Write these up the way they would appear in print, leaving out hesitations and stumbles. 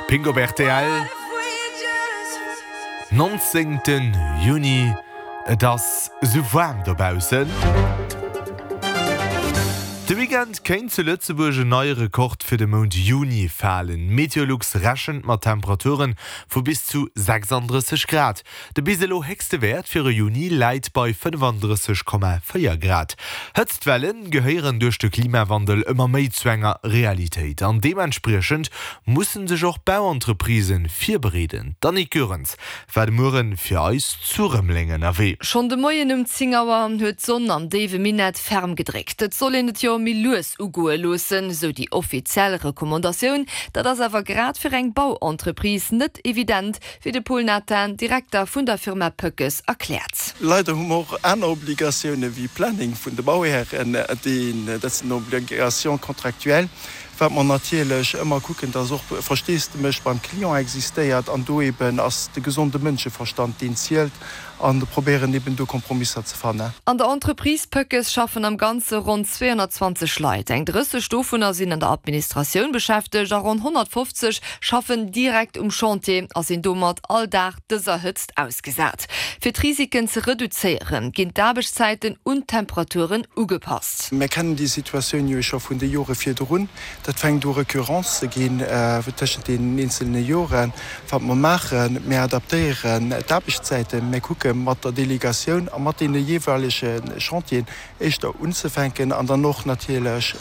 Pink op rtl, 19 Juni, et ass sou waarm dobaussen. De Weekend kéint zu Lëtzebuerg en neie Rekord fir de Mount Juni falen. Meteolux rechent mat Temperature vu bis zu 36 Grad. De bis elo héchste Wäert fir e Juni läit bei 35,4 Grad. Hëtztwelle gehéieren duerch de Klimawandel ëmmer méi zu enger Realitéit an deementspriechend musse sech och Bauentreprisen virbereeden. D'Annick Goerens war de Muere fir eis zu Rëmeleng ënnerwee. Schonn de Moien um 10 Auer huet d'Sonn am déiwe Minett ferm gedréckt. Et soll een et jo méi lues ugoe loossen, sou déi offiziell Recommandatioun. Dat ass awer grad fir eng Bauentreprise net evident, Wéi de Paul Nathan, Direkter vun der Firma Pöckes, erkläert. Leider hu mer och aner Obligatioune wéi Planning vun de Bauhären, dat sinn Obligations contractuelles, wat mer natierlech ëmmer kucken, dass och Versteesdemech beim Client existéiert an do eben ass de gesonde Mënscheverstand deen zielt an probéieren eben do Kompromisser ze fannen. An der Entreprise Pöckes schaffen am Ganze ronn 220 Leit. Eng 30 dovunner sinn an der Administratioun beschäftegt a ronn 150 schaffen direkt um Chantier a sinn domat all Dag dëser Hëtzt ausgesat. Fir d'Risiken ze reduzéieren, ginn d'Aarbechtszäiten un d'Temperaturen ugepasst. Mir kennen déi Situatioun jo scho vun de Jore virdrun. Dat fänkt u recurrent ze ginn tëschent deenen eenzelne Joren. Wat mer maachen, mir adaptéieren d'Aarbechtszäiten, mir kucke mat der Delegatioun a mat deene jeeweilege Chantieren éischter unzefänken an dann och natierlech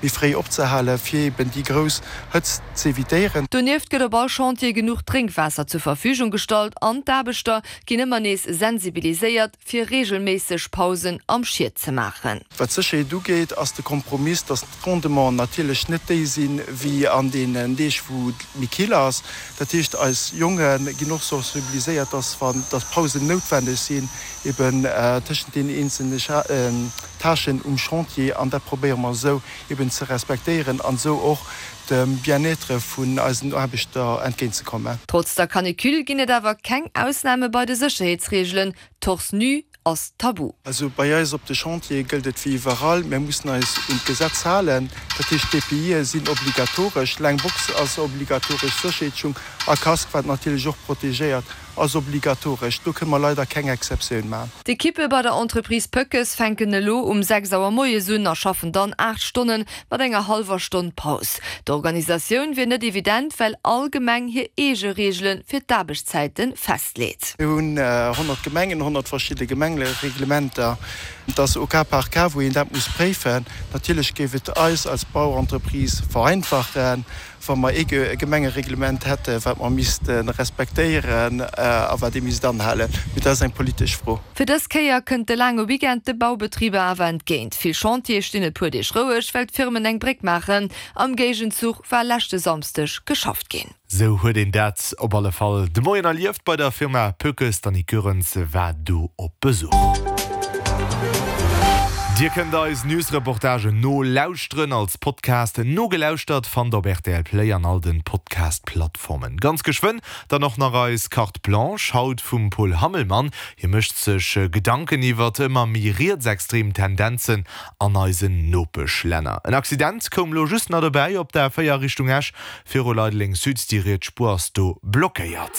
méi fréi opzehalen, fir eben déi grouss Hëtzt z'evitéieren. Donieft gëtt op all Chantier genuch Drénkwaasser zur Verfügung gestallt an d'Aarbechter ginn ëmmer nees sensibiliséiert, fir reegelméisseg Pausen am Schiet ze maachen. Wat d'Sécherheet ugeet, ass de Kompromiss, dass d'Rendementen natierlech net déi sinn, wéi an deenen Deeg, wou et méi kill ass. Dat heescht, eis Jonge ginn och sensibiliséiert, dass, wann dass Pausen noutwenneg sinn, eben tëschent deenen eenzelne Tâchen um Chantier, an dat probéiere mer esou eben ze respektéieren an esou och dem Bien-être vun eisen Aarbechter entgéintzekommen. Trotz der Canicule ginn et awer keng Ausname bei de Sécherheetsreegelen, Torse nu ass tabu. Also bei eis op de Chantiere gëllt et wéi iwwerall, mir mussen eis un d'Gesetz halen. Dat heescht, d'EPIe sinn obligatoresch, laang Box ass obligatoresch, Sécherheetsschung a Casque, wat natierlech och protegéiert, ass obligatoresch. Do kënne mer leider keng Exceptioun maachen. D'Ekippe bei der Entreprise Pöckes fänken elo um 6 Auer moies un a schaffen dann 8 Stonnen mat enger hallwer Stonn Paus. D'Organisatioun wier net evident, well all Gemeng hir eege Reegele fir d'Aarbechtszäite festleet. Mir hunn 100 Gemengen, 100 verschidde Gemengereglementer. Et ass au cas par cas, wou een dat muss préifen. Natierlech géif et eis als Bauentreprise vereinfachen, wa mer ee Gemengereglement hätten, wat mer misste respektéieren a wat ee misst anhalen. Mee dat ass eng politesch Fro. Fir dës Kéier kënnt de laange Weekend de Baubetriber awer entgéint. Vill Chantiere stinn e puer Deeg roueg, well d'Firmen eng Bréck maachen. Am Géigenzuch war leschte Samsdeg geschafft ginn. Sou huet een dat op alle Fall de Moien erlieft bei der Firma Pökes. D'Annick Goerens war do op Besuch. Dir kënnt eis News-Reportagen nolauschteren als Podcast. Nogelauschtert fannt der op rtl Play an all den Podcast-Plattformen. Ganz geschwënn dann och nach eis Carte Blanche, haut vum Paul Hammelmann. Hie mécht sech Gedanken iwwert ëmmer méi rietsextrem Tendenzen an eisen Nopeschlänner. En Accident koum lo just nach dobäi op der A4 Richtung Esch viru Leideleng Sud. Déi riets Spuer ass do blockéiert.